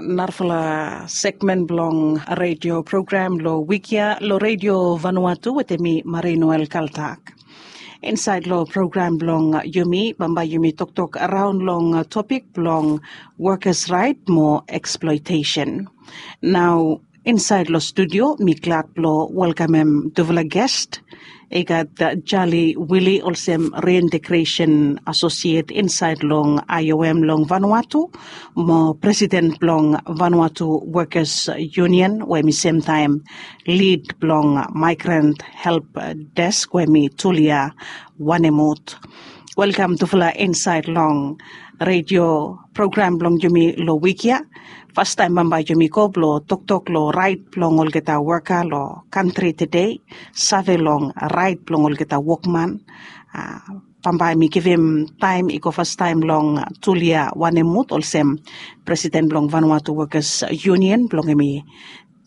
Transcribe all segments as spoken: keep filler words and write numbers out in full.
Narafala segmen blong redio program long wik ya long redio Vanuatu wetem mi Marie Noel Kaltak. Insaed long program blong yumi bambae yumi toktok raon long topik blong wokas raet mo eksploetesen. Nao insaed long studio mi glad blong welkamem tufala ges. I gat Jali Wili olsem reintegresen asosiet insaed long I O M long Vanuatu mo presiden blong Vanuatu Wokas Yunion we mi semtaem lid blong Maigran Help Desk we mi Tulia Wanemut. Welkam tufala insaed long redio program blong yumi long wik ya. Fastaem bambae yumi go blong toktok long raet blong olgeta woka long kantri tede, save long raet blong olgeta wokman. Bambae mi givim taem i go fastaem long Tulia Wanemut olsem presiden blong Vanuatu Wokas Yunion blong hem i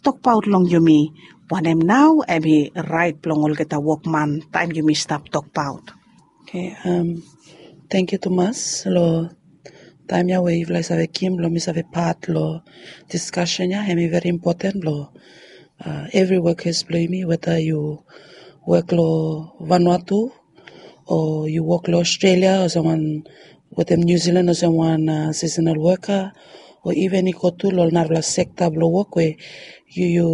tokbaot long yumi wanem nao hem i raet blong olgeta wokman taem yumi stap tokbaot. Tangkiu tumas long taem ya we yufala i save givim blong mi save pat long diskasen ya. Hem i veri impoten blong evri wokas blong yumi weda yu wok long Vanuatu o yu wok long Australia olsem wan wetem New Zealand olsem wan seasonal woka o iven i go tu long ol narafala sekta blong wok we yu yu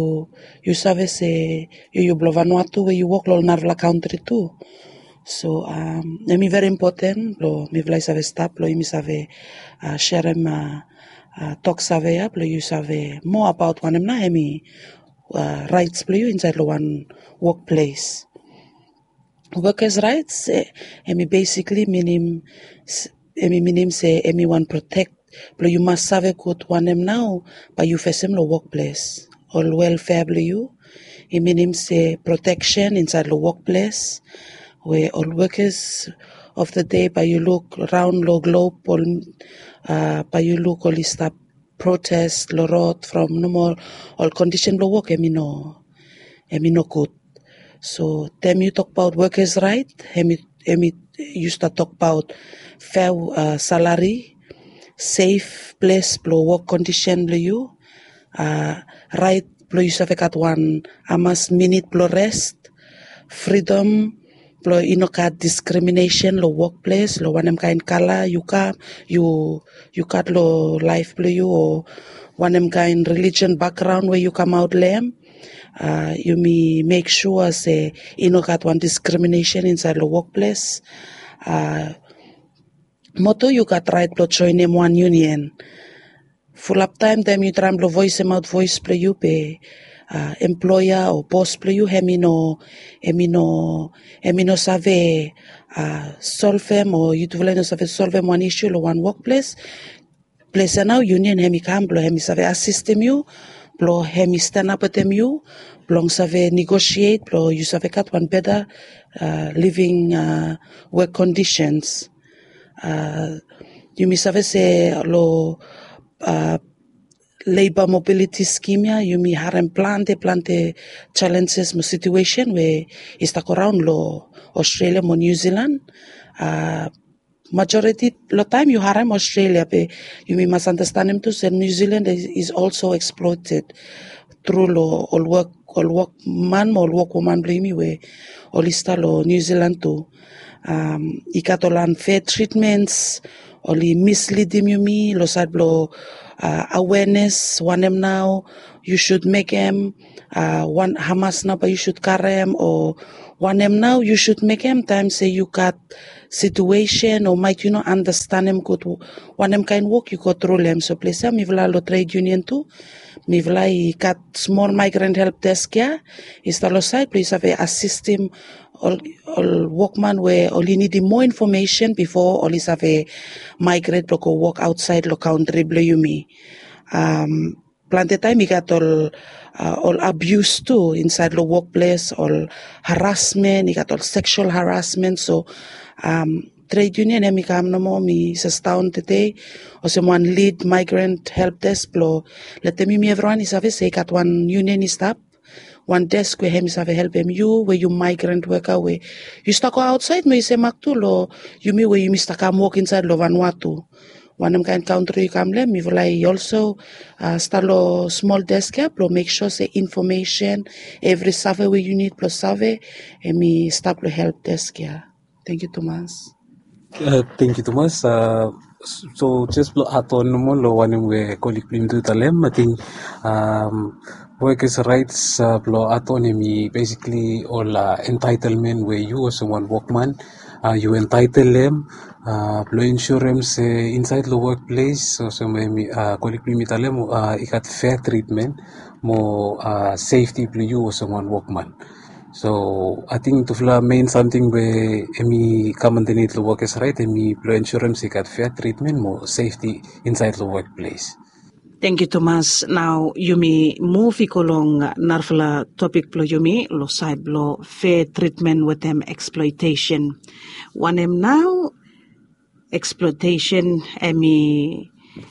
yu save se yu yu blong Vanuatu we yu wok long ol narafala kantri tu. So hem i veri impoten blong mifala i save stap blong yumi save serem toksave ya blong yu save moa abaot wanem nao hem i raets blong yu insaed long wan wokples. Wokas raets hem i besikli minim hem i minim se hem i wan protek blong yu mas save gud wanem nao bae yu fesem long wokples. Ol welfea blong yu i minim se proteksen insaed long wokples we ol wokas of the day bae yu luk raon long glop ol bae yu luk oli stap protes long rod from nomo ol kondisen blong wok hem i no hem i no gud. So taem yu tokbaot wokas raet hem i hem i yu stap tokbaot fea salari, sef ples blong wok kondisen blong yu, raet blong yu save gat wan hamas minit blong res, fridom blong i no gat diskriminesen long wokples long wanem kaen kala yu kam yu yu gat long laef blong yu o wanem kaen relijion bakgraon we yu kamaot long hem. Yumi mek sua se i no gat wan diskriminesen insaed long wokples. Moto yu gat raet blong joenem wan yunion. Fulap taem taem yu traem blong voesemaot voes blong yu be emploea o bos blong yu hem i no hem i no hem i no save solvem o yutufala i no save solvem wan isu long wan wokples. Ples ya nao yunion hem i kam blong hem i save asistem yu blong hem i stanap wetem yu blong save negosiet blong yu save gat wan beta living wok kondisens. Yumi save se long leba mobiliti skim ya yumi harem plante plante jalenjes mo situesen we i stap go raon long Australia mo New Zealand. Majoriti long taem yu harem Australia be yumi mas anastenem tu se New Zealand is also eksploeted tru long ol wok ol wokman mo ol wokwoman blong yumi we oli stap long New Zealand tu. I gat ol anfea tritmens oli mislidim yumi long saed blong awenes wanem nao yu sud mekem, wan hamas nao bae yu sud karem o wanem nao yu sud mekem taem se yu gat situesen o maet yu no anastenem gud wanem kaen wok yu go tru long hem. So ples ya mifala long tred yunion tu mifala i gat smol maigran help desk ya i stap long saed blong yu save asistim ol wokman we oli nidim moa infomesen bifo oli save maigret blong go wok aotsaed long kantri blong yumi. Plante taem i gat ol ol abius tu insaed long wokples ol harasmen i gat ol seksual harasmen so tred yunion hem i kam nomo mi sestaon tede olsem wan lid maigran help desk blong letem yumi evriwan i save se i gat wan yunion i stap wan desk we hem i save helpem yu we yu maigran woka we yu stap go aotsaed mo i semak tu long yumi we yumi stap kam wok insaed long Vanuatu. Wanem kaen kantri yu kam long hem, mifala i olso stap long smol desk ya blong mek sua se infomesen, evri save we yu nid blong save, hem i stap long help desk ya. Tangkiu tumas. Tangkiu tumas. So jes blong aton nomo long wanem we kolik blong yumi tu i talem, ating wokes raets blong aton hem i besikli ol entaitelmen we yu olsem wan wokman yu entaitel hem blong ensurem se insaed long wokples olsem we kolik blong yumi talem i gat fea tritmen mo sefti blong yu olsem wan wokman. So ating tufala mein samting we hem i kam andanit long wokes raet hem i blong ensurem se i gat fea tritmen mo sefti insaed long wokples. Tangkiu tumas. Nao yumi muv i go long narafala topik blong yumi long saed blong fea tritmen wetem eksploetesen. Wanem nao eksploetesen hem i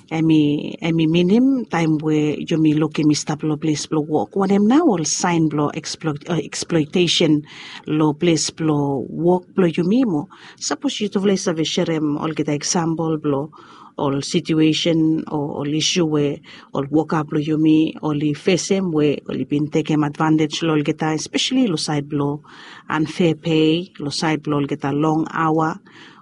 hem i minim taem we yumi lukim i stap long ples blong wok? Wanem nao ol saen blong eksploetesen long ples blong wok blong yumi mo sapos yutufala i save serem olgeta eksampol blong ol situesen o ol isu we ol woka blong yumi oli fesem we oli bin tekem advantej long olgeta, espeseli long saed blong anfea pei, long saed blong olgeta long aoa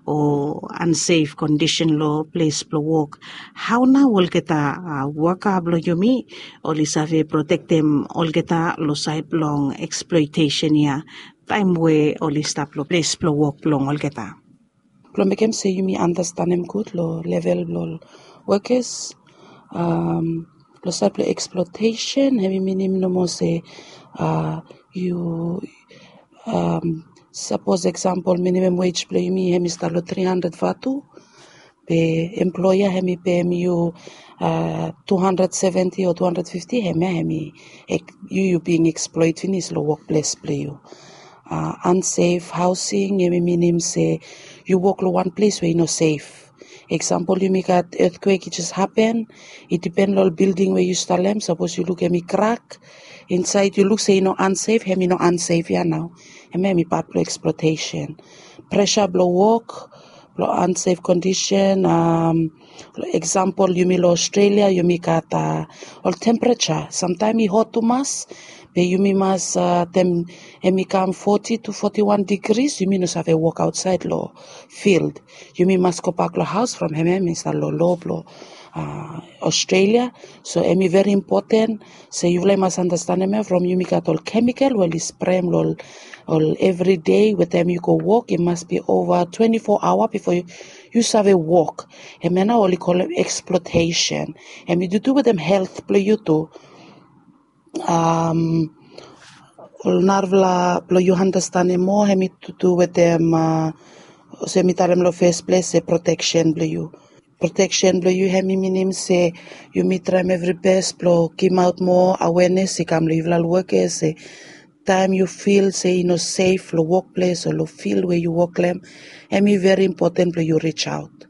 o ansef kondisen long ples blong wok. Hao nao olgeta woka blong yumi oli save protektem olgeta long saed blong eksploetesen ya taem we oli stap long ples blong wok blong olgeta? Blong mekem se yumi andastanem gud long level blong ol wokes, long saed blong eksploetesen hem i minim nomo se yu sapos eksampol minimam wej blong yumi hem i stap long tri handred vatu, be emploea hem i pem yu tu handred seventi o tu handred fifti, hemia hem i yu yu bin eksploet finis long wokples blong yu. Ansef haosing hem i minim se yu wok long wan ples we i no sef. Eksampol yumi gat etkwek i jes hapen, i dipen long ol bilding we yu stap long hem. Sapos yu luk hem i krak insaed yu luk se i no ansef, hem i no ansef ya nao. Hemia hem i pat blong eksploetesen. Presa blong wok blong ansef kondisen. Eksampol yumi long Australia yumi gat ol tempereja samtaem i hot tumas, be yumi mas taem hem i kam foti tu foti wan digris yumi no save wok aotsaed long fild. Yumi mas gobak long haos from hemia hem i stap long loa blong Australia. So hem i veri impoten se yufala i mas andastanem ya from yumi gat ol kemikal we oli sprem long ol evri dei we taem yu go wok i mas bi ova twenti fo aoa bifo yu save wok. Hemia nao oli kolem eksploetesen. Hem i dudu wetem helt blong yu tu. Ol narafala blong yu andastanem moa hem i dudu wetem olsem mi talem long fes ples se proteksen blong yu. Proteksen blong yu hem i minim se yumi traem evri bes blong gimaot moa awenes i kam long yufala wokes se taem yu fil se i no sef long wokples o long fil we yu wok long hem, hem i veri impoten blong yu rijaot.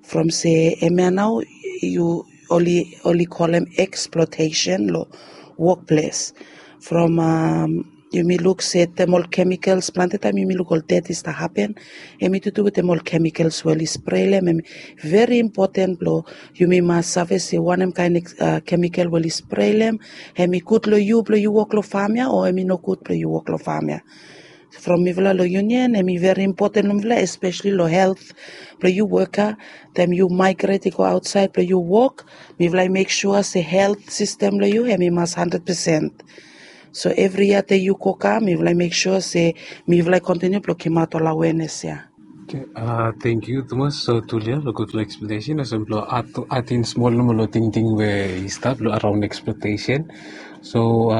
From se hemia nao yu oli kolem eksploetesen long wokples. From yumi luk se taem ol kemikals plante taem yumi luk ol ded i stap hapen, hem i dudu wetem ol kemikals we oli sprelem hem i veri impoten blong yumi mas save se wanem kaen kemikal we oli sprelem hem i gud long yu blong yu wok long fam ya o hem i no gud blong yu wok long fam ya. From mifala long yunian hem i veri impoten long mifala espeseli long helt blong yu woka. Taem yu maegret i go aotsaed blong yu wok, mifala i mek sua se helt sistem blong yu hem i mas handred pesen. So evri yia te yu go kam mifala i mek sua se mifala i kontiniu blong gimaot ol awenes ya. Tangkiu tumas. So tulia long gudfala eksplanesen olsem blong atin smol nomo long tingting we i stap long araon eksploetesen. So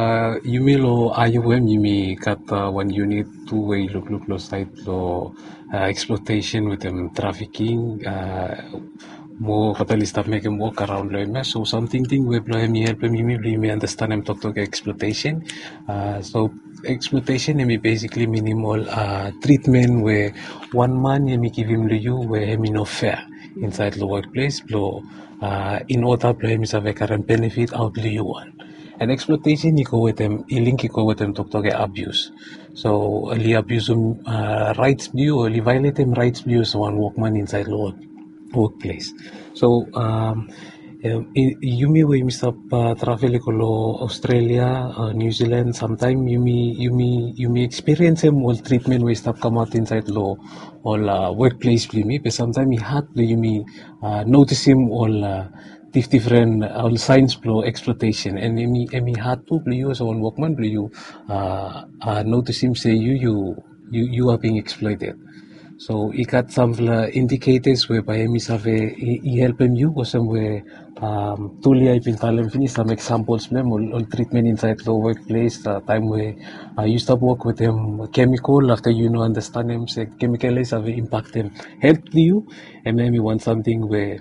yumi long aioem yumi gat wan yunit tu we i lukluk long saed long eksploetesen wetem trafiking. Mo fatal i stap mekem wok araon long hem ya so sam tingting we blong hem i helpem yumi blong yumi andastanem toktok eksploetesen. So eksploetesen hem i besikli minim ol tritmen we wan man hem i givim long yu we hem i no fea insaed long wokples blong in oda blong hem i save karem benefit aot long yu wan. And eksploetesen i go wetem i link i go wetem toktok ya abius. So oli abiusum raets blong yu oli vaeletem raets blong yu olsem wan wokman insaed long wok. workplace. So um, yumi we yumi stap travel i go long Australia, New Zealand, samtaim yumi yumi yumi experienceim ol treatment we i stap kamaot insait long ol workplace blong yumi, be samtaim i hat blong yumi notisim ol difdifren ol signs blong exploitation, and em i hat tu blong yu olsem wan wokman blong yu notisim se yu yu yu are being exploited. So i gat sampela indicators we bai em i save i helpim yu olsem we Tulia i bin talem finis sam examples blong em ol treatment insait long workplace, taim we yu stap wok wetem kemikol afta yu no andastanem se kemikol ya i save impaktem helt blong yu, em em i wan samting we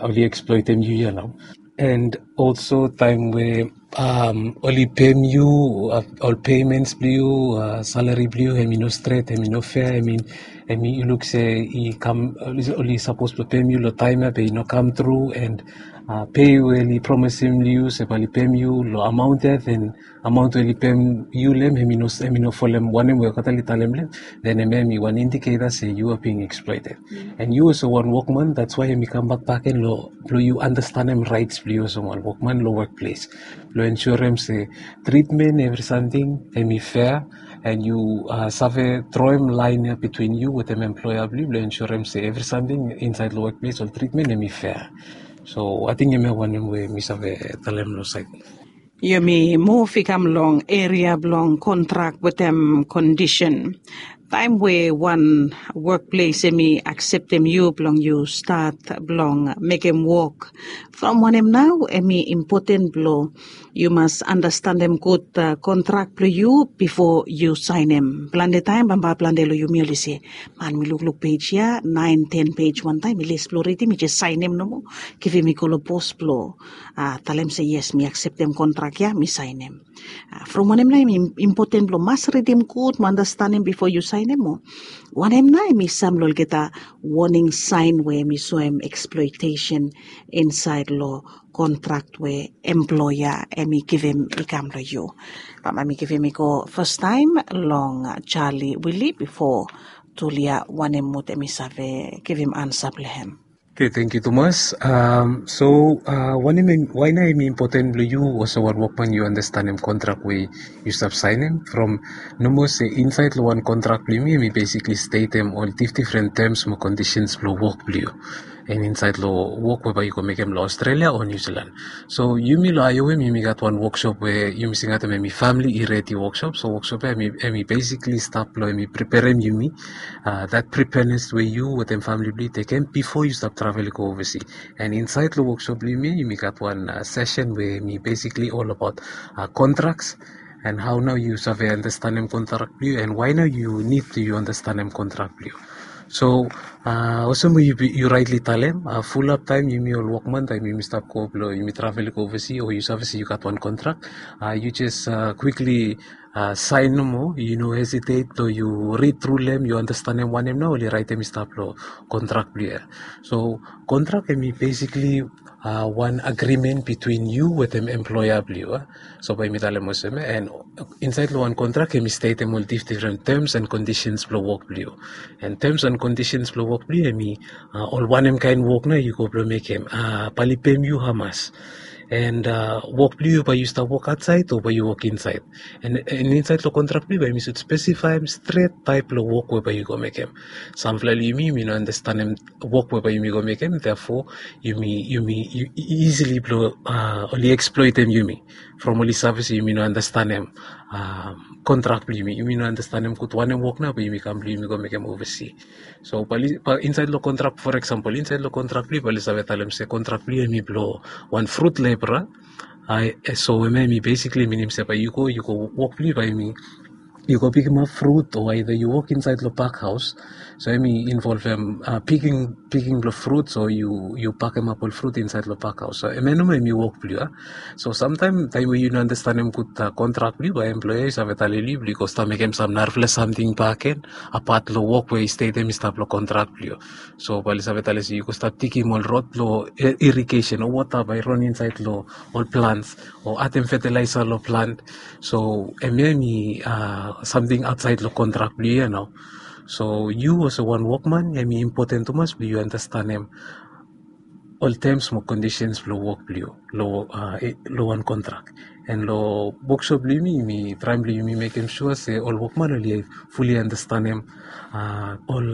oli exploitem yu ya nau. And also taim we um, oli pem yu uh, ol payments blong yu uh, salary blong yu em i no stret, em i no fair, em i em i luk se i kam oli sapos blong pem yu long taim ya be i no kam tru, and uh, pei we oli promisim yu se bai oli pem yu long amount ya, then amount we oli pem yu long em em i no em i no folem wanem we olgeta oli talem long em, then em em i wan indicator se yu are being exploited. And yu olsem wan wokman, that's why em i kam bak baken long blong yu andastanem rights blong yu olsem wan wokman long workplace, blong ensurem se treatment evri samting em i fair, and yu uh, save droem lain ya between yu wetem employer blong yu blong ensurem se evri samting insait long workplace ol treatment em i fair. So ating em ya wanem we mi save talem long sait. Yumi muv i kam long eria blong kontrak wetem kondisen. Taim we wan wokples em i akseptem yu blong yu stat blong mekem wok, from wanem nau em i impoten blong yu mas andastanem gut kontrak blong yu bipo yu sainem. Plante taim bambae plante long yumi oli se, man mi lukluk pej ya nain ten pej wantaim mi les blong ridim, mi jes sainem nomo, givim i go long bos blong talem se yes, mi akseptem kontrak ya, mi sainem. From wanem nau em i impoten blong mas ridim gut mo andastanem bipo yu sainem, o wanem nau em i sam long olgeta woning sain we em i soem eksploitesen insait long kontrak we employa em i givim i kam long yu. Bambae mi givim i go fastaim long Charlie Willie bipo Tulia Wanemut em i save givim ansa blong em. Okay, thank you tumas. Um, so uh, wanem em why na em important blong you also wan workman you understandem contract we you stop sign em from nomor se inside lo wan contract blong yumi yumi basically statem ol dif different terms mo conditions blong work blong you. And inside lo work weba you go mekem lo Australia o New Zealand. So yumi lo I O M yumi gat wan workshop we yumi singatem emi family i ready workshop. So workshop ya emi basically stap lo emi preperem yumi uh, that preparedness we you wetem family blong you tekem before you stop travel go oversea. And inside lo workshop blong yumi yumi gat wan uh, session we emi basically all about uh, contracts and how now you save understandem contract blong you and why now you need to you understandem contract blong you. So uh, olsem we you, you rightly talem uh, full up time yumi ol workman taim yumi stap go blo yumi travel go oversea o you save se you gat wan contract uh, you just uh, quickly uh, sign nomo, you no hesitate to you read through lem you understandem wanem na oli raitem i stap lo contract blong you. So contract emi basically uh, wan agreement between you wetem employer blong you. So bai mi talem olsem and inside lo wan contract emi statem ol dif different terms and conditions blong work blong you. And terms and conditions blong work blong you emi uh, ol wanem kain work na you go blong mekem uh, bai oli pem you hamas. And uh, work blong you bai you stap work outside o bai you work inside. And, and inside lo contract blong you bai mi should specify stret type lo work we bai you go mekem. Samfala lo yumi yumi no understandem work we bai yumi go mekem, therefore yumi yumi easily blo uh, oli exploitem yumi from oli save se yumi no understandem uh, contract blong yumi yumi no understandem gut wanem work na bai yumi kam blong yumi go mekem oversea. So bali inside lo contract for example inside lo contract blong bali save talem se contract blong yumi blo wan fruit labor. Ai so eme mi basically minim se bai you go you go work blong bai mi you go pikim up fruit o either you work inside lo park house. So emi involvem uh, picking picking blo fruit so you you pakem up ol fruit inside lo park house so eme nomo emi work blong you. So samtaim taim we you no understandem gut uh, contract blong you bai employer you save taleli blong you go stap mekem sam narafala samting baken apat lo work we i statem i stap lo contract blong you. So bali save talesi you go stap tikim ol rod lo irrigation o wota bai ron inside lo ol plants o atem fertilizer lo plant. So emi emi uh, samting outside lo contract blong you ya nao. So yu olsem wan wokman, hemi impoten tumas blong yu andastanem ol tems mo kondisens blong wok blong yu long wan kontrak. And long wokshop blong yumi, yumi traem blong yumi mekem sua se ol wokman oli fuli andastanem ol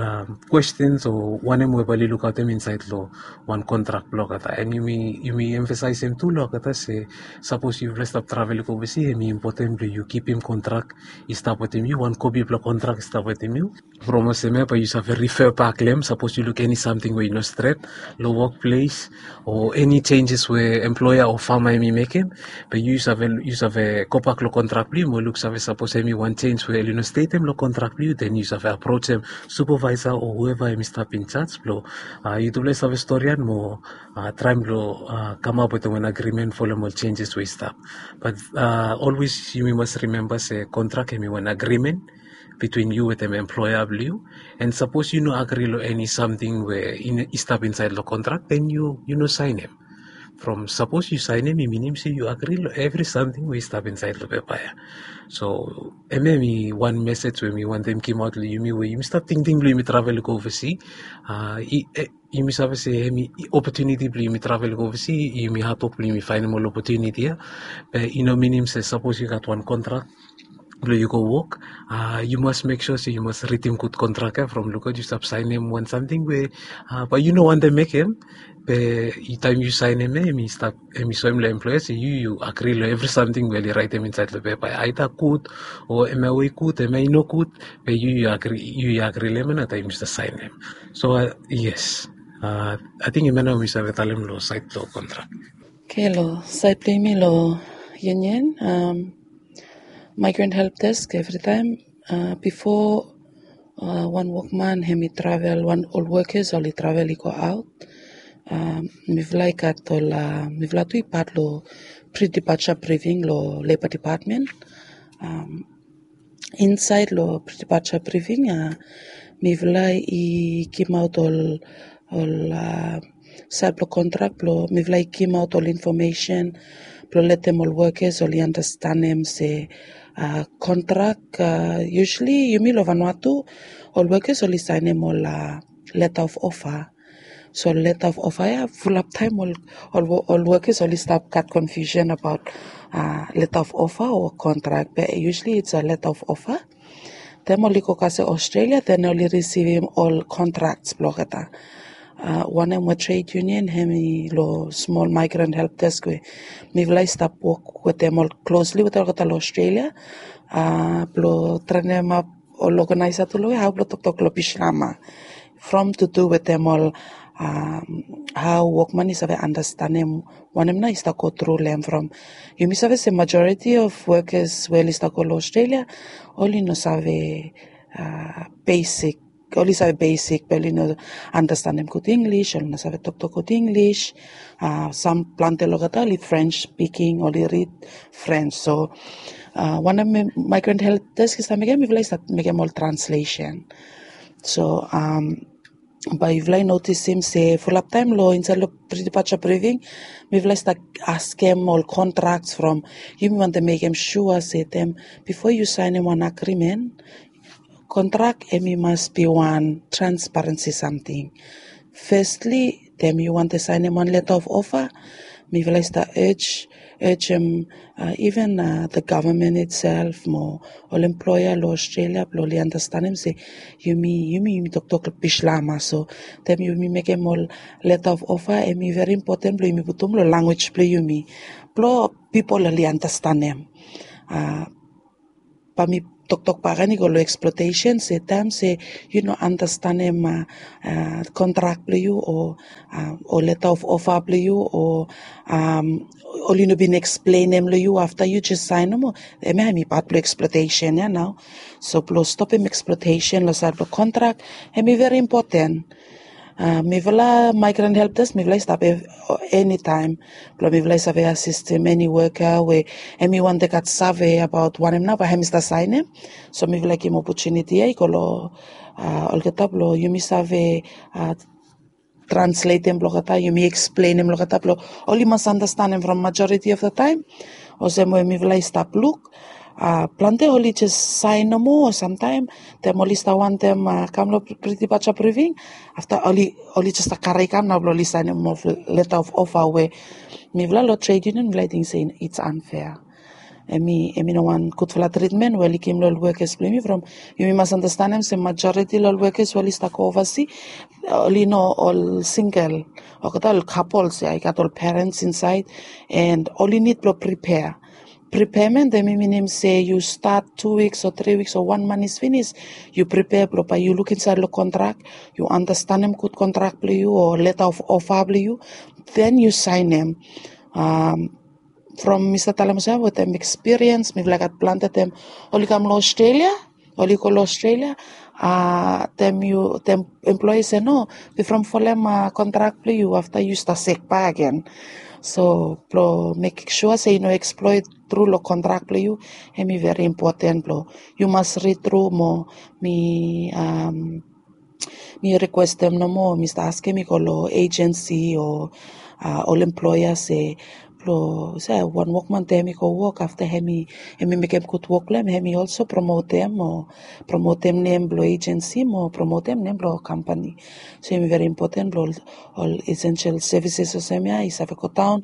kwestens o wanem we bae oli lukaotem insaed long wan kontrak blong olgeta. And yumi emfasaesem tu long olgeta se sapos yufala i stap travel i go ovasi, hemi impoten blong yu kipim kontrak i stap wetem yu, wan kopi blong kontrak i stap wetem yu. From olsem ya bae yu save rifea bak long hem sapos yu luk eni samting we i no stret long wokples, o eni senjes we emploea o fama hemi mekem. Be yu save, yu save gobak long kontrak blong yu mo luksave sapos hemi wan sens we oli no stetem long kontrak blong yu, den yu save aprojem supavaesa o hueva hemi stap injaj blong yutufala i save storian mo traem blong kamap wetem wan agrimen folem ol senjes we i stap. Bat olwes yumi mas rimemba se kontrak hemi wan agrimen bitwin yu wetem emploea blong yu. And sapos yu no agri long eni samting we i stap insaed long kontrak, den yu no saenem. From sapos yu saenem, i minim se yu agri long evri samting we i stap insaed long pepa ya. So hemia hemi wan mesej we mi wantem gimaot long yumi we yumi stap tingting blong yumi travel i go ovasi. Yumi save se hemi opotuniti blong yumi travel i go ovasi, yumi hatwok blong yumi faenem ol opotuniti ya. Be i no minim se sapos yu gat wan kontrak blong yu go wok, yu mas mek sua se yu mas ridim gud kontrak ya from lukaot yu stap saenem wan samting we bae yu no wantem mekem. Be taem yu saenem ya, hemi stap, hemi soem long emploea se yu, yu agri long evri samting we oli raetem insaed long pepa ya, aeda gud o hemia we i gud, hemia i no gud. Be yu, yu agri, yu i agri long hemia nao taem yu stap saenem. So yes, ating hemia nao mi save talem long saed blong kontrak. Oke, long saed blong yumi long union, migrant help desk, evritaem bifo wan wokman hemi travel, wan ol wokas oli travel i go aot, mifala i gat ol, mifala tu i pat long pre-departure briefing long Labour Department. Insaed long pre-departure briefing, mifala i gimaot ol, ol saed blong kontrak blong mifala i gimaot ol infomesen blong letem ol wokas oli andastanem se kontrak, usually yumi long Vanuatu, ol wokas oli saenem ol leta of ofa. So leta of ofa ya, fulap taem ol, ol wokas oli stap gat konfiusen abaot leta of ofa o kontrak, be usually it's a leta of ofa. Taem oli go kasem Australia, den oli risivim ol kontraks blong olgeta. Wanem we trade union hemi long smol migrant help desk we mifala i stap wok wetem ol klosli wetem olgeta long Australia blong trenemap ol oganaesa tu long we hao blong toktok long Bislama. From tu tu wetem ol hao wokman i save andastanem wanem nao i stap go tru long hem. From yumi save se majoriti of wokas we oli stap go long Australia, oli no save besik, oli save besik be oli no andastanem gud Inglis, oli no save toktok gud Inglis. Sam plante long olgeta oli French speaking, oli rid French. So wanem migrant help desk i stap mekem, mifala i stap mekem ol translesen. So bae yufala i notisim se fulap taem long insaed long pre-departure briefing, mifala i stap askem ol kontraks from, yumi wantem mekem sua se taem bifo yu saenem wan agrimen, kontrak hemi mas bi wan transparensi samting. Fesli, taem yu wantem saenem wan leta of ofa, mifala i stap ej, ejem even the government itself mo ol emploea long Australia blong oli andastanem se yumi, yumi, yumi toktok Bislama. So taem yumi mekem ol leta of ofa, hemi veri impoten blong yumi putum long lanwis blong yumi, blong pipol oli andastanem. Bae mi toktok bakegen i go long eksploatesen, se taem se yu no andastanem kontrak blong yu o, o leta of ofa blong yu o, oli no bin eksplenem long yu, afta yu jes saen nomo, hemia hemi pat blong eksploatesen ya nao. So blong stopem eksploatesen long saed blong kontrak, hemi veri impoten. Mifala migrant help desk, mifala i stap enitaem blong mifala i save asistem eni woka we hemi wantem gat save abaot wanem nao bae hemi stap saenem. So mifala i givim opotuniti ya i go long olgeta blong yumi save transletem blong olgeta, yumi eksplenem long olgeta blong oli mas andastanem. From majoriti of the taem, olsem we mifala i stap luk, Plante oli jes saen nomo, samtaem taem oli stap wantem kam long priti baja briving, afta oli jes stap kare i kam nao blong oli saenem moa leta of ofa we mifala long tred yunion mifala i ting se it's anfea. Em i no wan gudfala tritmen we oli givim long ol wekes blong yumi from yumi mas anastenem se majoriti long ol wekes we oli stap go ovasi oli no ol singel, olgeta ol kapols ya i gat ol perens insaed. And oli nid blong pripea. Pripeamen em i minim se yu stat tu wiks o tri wiks o wan manis finis, yu pripea blong bae yu luk insaed long kontrak, yu anastenem gud kontrak blong yu o leta of ofa blong yu, den yu saenem. From mi stap talem olsem wetem ekspiriens mifala i gat plante taem oli kam long Australia, oli go long Australia, taem yu taem employers se no, wi from folem kontrak blong yu, afta yu stap sek bak gen. So blong mekem sua se i no eksploet tru long kontrak blong yu, em i veri impoten blong yu mas rid tru mo mi mi rikwestem nomo, mi stap askem i go long ejensi o ol employa se blong se wan wokman taem i go wok afta em i mekem gud wok blong em em i olso promotem o promotem nem blong ejensi mo promotem nem blong kampani. So em i veri impoten blong ol esensel sevises olsem ya i save godaon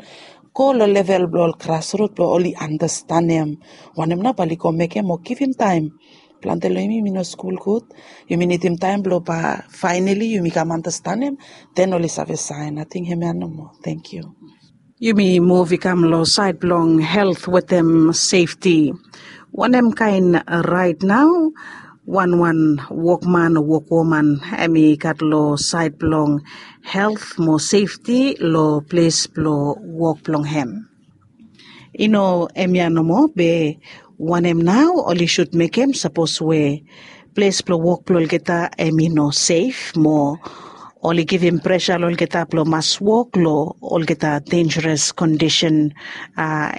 go long level blong ol grasrut blong oli anastenem wanem nao bae oli go mekem o givim taem. Plante long yumi yumi no skul gud, yumi nidim taem blong bae faenali yumi kam anastenem, den oli save saen. Ating hemia nomo. Tenkyu. Yumi muv i kam long saed blong helt wetem sefti. Wanem kaen raet nao wanwan wokman o wokwoman em i gat long saed blong helt mo sefti long ples blong wok blong hem? I no hemia nomo be wanem nao oli sud mekem sapos we ples blong wok blong olgeta em i no sef mo oli givim presa long olgeta blong mas wok long olgeta denjeres kondisen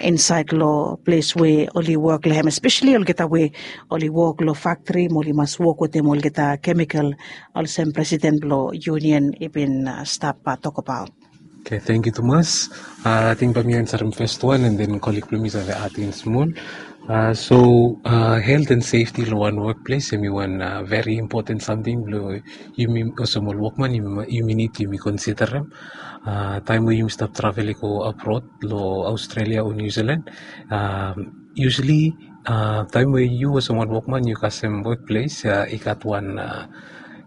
insaed long ples we oli wok long hem, espeseli olgeta we oli wok long faktri mo oli mas wok wetem olgeta kemikal olsem presiden blong yunion i bin stap tokbaot. Oke, tenkyu tumas. Ating bae mi ansarem fes wan and then kolig blong mi save ating smol. So helt and sefti long wan wokples em i wan veri impoten samting blong yumi olsem ol wokman yumi nid yumi konsiderem. Taem we yumi stap travel i go abrod long Australia o New Zealand, usually taem we yu olsem wan wokman yu kasem wokples i gat wan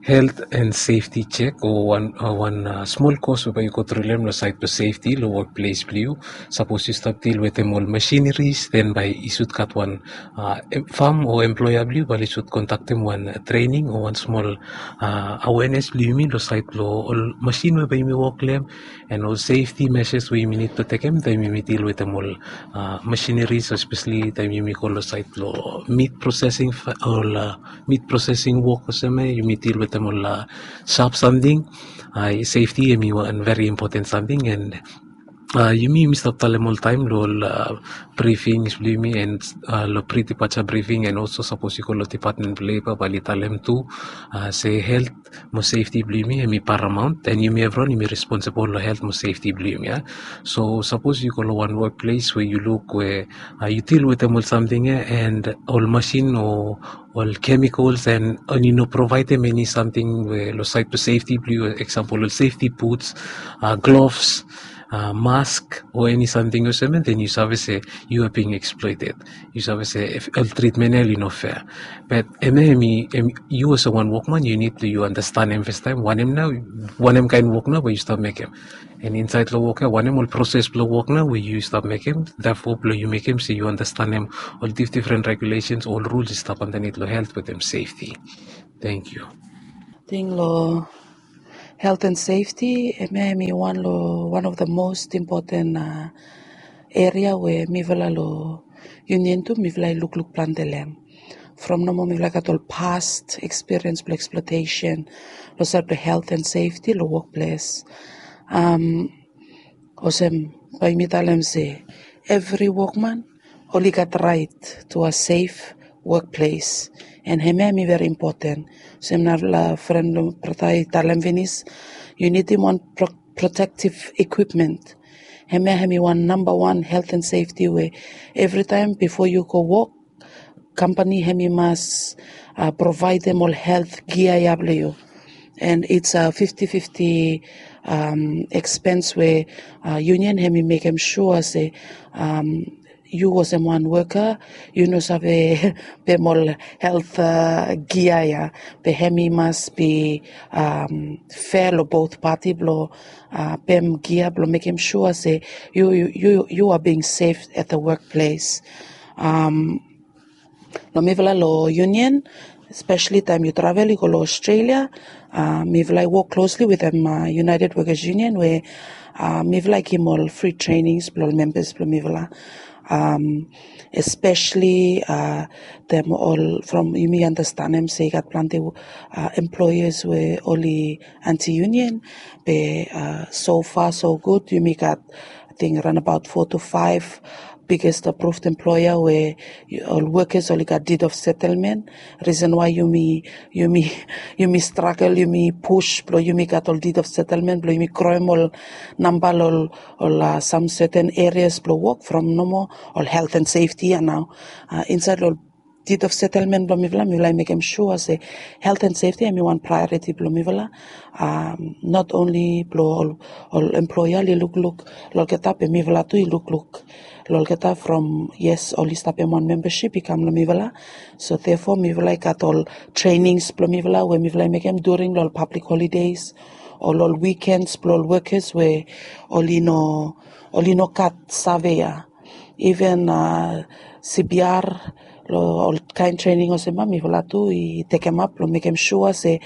helt and sefti jek o wan smol kos we bae yu go tru long hem long saed blong sefti long wokples blong yu. Sapos yu stap dil wetem ol masinaris den bae i sud gat wan fam o employa blong yu bae oli sud kondaktem wan trening o wan smol awenes blong yumi long saed blong ol masin we bae yumi wok long hem, and ol sefti meses we yumi nid blong tekem taem yumi dil wetem ol masinaris espeseli taem yumi go long saed blong mit prosesing ol mit prosesing wok olsem ya yumi dil wetem ol sap samting. Sefti em i wan veri impoten samting and yumi yumi stap talem oltaem long ol brifings blong yumi and long pri dipaja brifing and olso sapos yu go long dipatmen blong leba bae oli talem tu se helt mo sefti blong yumi em i paramaon and yumi evriwan yumi responsibol long helt mo sefti blong yumi ya. So sapos yu go long wan wokples we yu luk we yu dil wetem ol samting ya and ol masin o ol kemikols and oli no provaedem eni samting we long saed blong sefti blong yu, eksampol ol sefti buts, glovs, mask o eni samting olsem ya den yu save se yu are being exploited. Yu save se ol tritmen ya oli no fea. Bat hemia hemi yu olsem wan wokman yu nid blong yu anastenem fastaem wanem nao wanem kaen wok nao bae yu stap mekem. And insaed long wok ya wanem ol proses blong wok nao we yu stap mekem tafo blong yu mekem se yu anastenem ol difdifren regulesens o ol ruls i stap andanit long helt wetem sefti. Tenkyu. Ating long helt and sefti hemia hemi wan long wan of the most impoten eria we mifala long yunion tu mifala i lukluk plante long hem. From nomo mifala i gat ol past ekspiriens blong eksplotesen long saed blong helt and sefti long wokples. Olsem bae mi talem se evri wokman oli gat raet tu a sef wokples. And hemia hemi veri impoten olsem narafala fren blong brata i talem finis, yu nidim wan protektiv ikwipmen. Hemia hemi wan namba wan helt and sefti we evritaem bifo yu go wok Kampani hem i mas provaedem ol helt gia ya blong yu. And it's a fifty fifty expense we union hem i mekem sua se yu olsem wan woka yu no save pem ol helt gia ya, be hem i mas bi fea long both pati blong pem gia blong mekem sua se yu yu yu are being safe at the workplace. Long mifala long union, especially taem yu travel i go long Australia, mifala i wok klosli wetem United Workers Union we mifala i givim ol fri trenings blong ol membas blong mifala. Especially dem ol from yumi andastanem se i gat planti employers we oli anti union, be so far so good. Yumi gat ating ranabaot four to five biggest approved employer we ol wokas oli gat deed of settlement. Risen wai yumi yumi yumi stragel, yumi pus blong yumi gat ol deed of settlement blong yumi kroem ol namba long ol sam seten erias blong wok from nomo ol helt and sefti ya nao. Insaed long ol deed of settlement blong mifala mifala i mekem sua se helt and sefti hem i wan prioriti blong mifala. Not onli blong ol employer oli lukluk long olgeta, be mifala tu i lukluk long olgeta from yes oli stap em wan membership i kam long mifala. So therefore mifala i gat ol trenings blong mifala we mifala i mekem during long ol public holidays o long ol weekends blong ol wokas we oli no oli no gat save ya. Even cpr long ol kaen trening olsem ya mifala tu i tekemap blong mekem sua se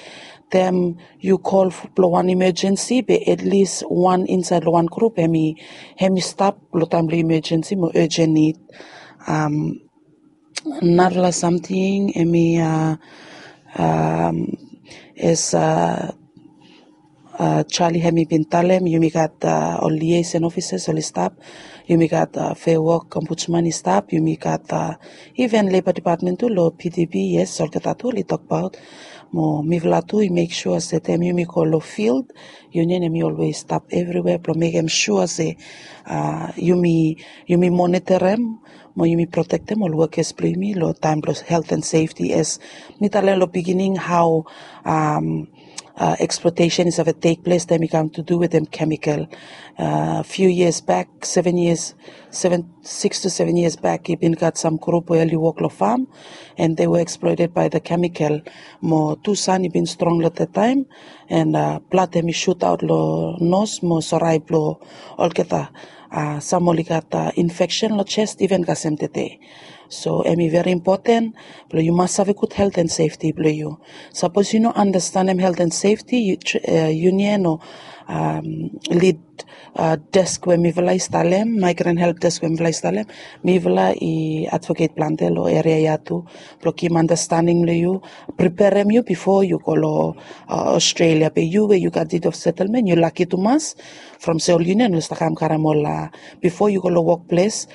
taem yu kol blong wan imajensi be at least wan insaed long wan grup hem i hem i stap long taem blong imajensi mo urgent need. Narala samting hem i as Charlie hem i bin talem yumi gat ol liaison ofisas oli stap, yumi gat fea wok ombudsman i stap, yumi gat even leba depatmen tu long pdb. Yes, olgeta tu oli tokbaot mo mifala tu i mek sua se taem yumi go long field, union hem i olwes stap evriwea blong mekem sua se yumi yumi monitorem mo yumi protektem ol wokas blong yumi long taem blong helt and sefti. As mi talem long bigining hao exploitation i save tek ples taem i kam tu du wetem kemikal. Few years back, seven years, seven six to seven years back i bin gat sam grup we oli wok long fam and they were exploited by the kemikal. Mo tu san i bin strong long that taem and blad hem i sutaot long nos mo sorai blong olgeta. Sam oli gat infeksen long jes even kasem tede. So hem i veri impoten blong yu mas save gud helt and sefti blong yu. Sapos yu no andastanem helt and sefti, union o lid desk we mifala i stalem, maigran help desk we mifala i stalem, mifala i advoket plante long eria ya tu blong givim andastaning long yu, preperem yu bifo yu go long australia. Be yu we yu gat deed of settlement yu laki tumas from se ol union oli stap kam karem ol bifo yu go long wokples,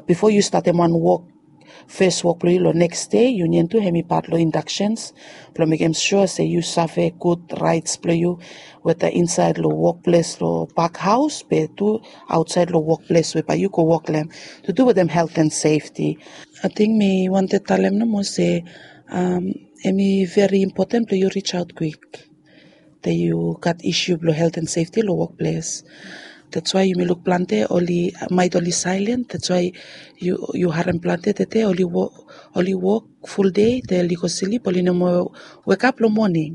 bifo yu statem wan wok fes wok blong yu long neks dei, union tu hem i pat long indaksions blong mekem sua se yu save gud raets blong yu weta insaed long wokples long bakhaos be tu aotsaed long wokples we bae yu go wok long hem tu du wetem helt and sefti. Ating mi wantem talem nomo se hem i veri impoten blong yu risaot kwik. Te yu gat isu blong helt and sefti long wokples. Dats wai yumi luk plante oli maet oli sailen, dats wai yu harem plante tede oli wok fuldei te oli go slip, oli no moa wekap long moning.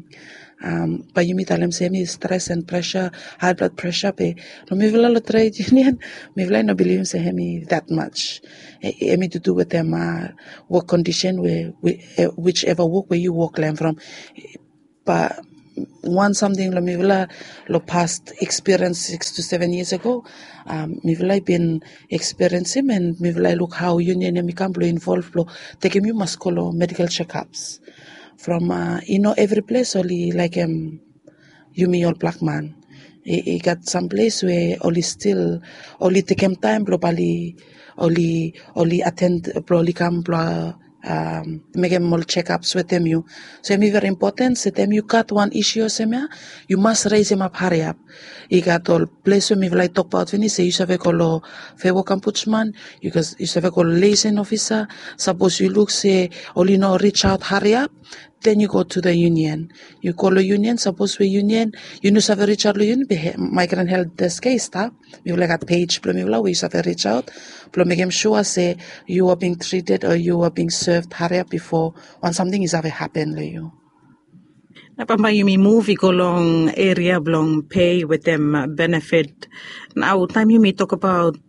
Bae yumi talem se hem i stres and presa, hae blad presa be long mifala long tret union mifala i no bilivim se hem i dat mats. Hem i dudu wetem wok kondisen we wiseva wok we yu wok long hem from. Ba wan samting long mifala long pas ekspiriens six to seven yias ago, mifala i bin ekspiriensim and mifala i luk hao union hem i kam blong involv blong tekem yu mas go long medikel sekaps. From i no evri ples oli laekem yumi ol blak man. I gat sam ples we oli stil oli tekem taem blong bali oli oli aten blong oli kam blong mekem ol checkups wetem yu. So em i veri impoten se taem yu gat wan isu olsem ya, yu mas resemap hariap. I gat ol ples we mifala i tokbaot finis se yu save go long fewok ombudsman, yu save go long leisen ofisa. Sapos yu luk se oli no risaot hariap, then yu go tu the union. Yu go long union, sapos we union yu no save risaot long union, be migrant health desk ya i stap. Mifala i gat pej blong mifala we yu save risaot blong mekem sua se yu are being treated o yu are being served hariap bifo wan samting i save hapen long yu. Na bambae yumi muv i go long eria blong pei wetem benefit. Nao taem yumi tokbaot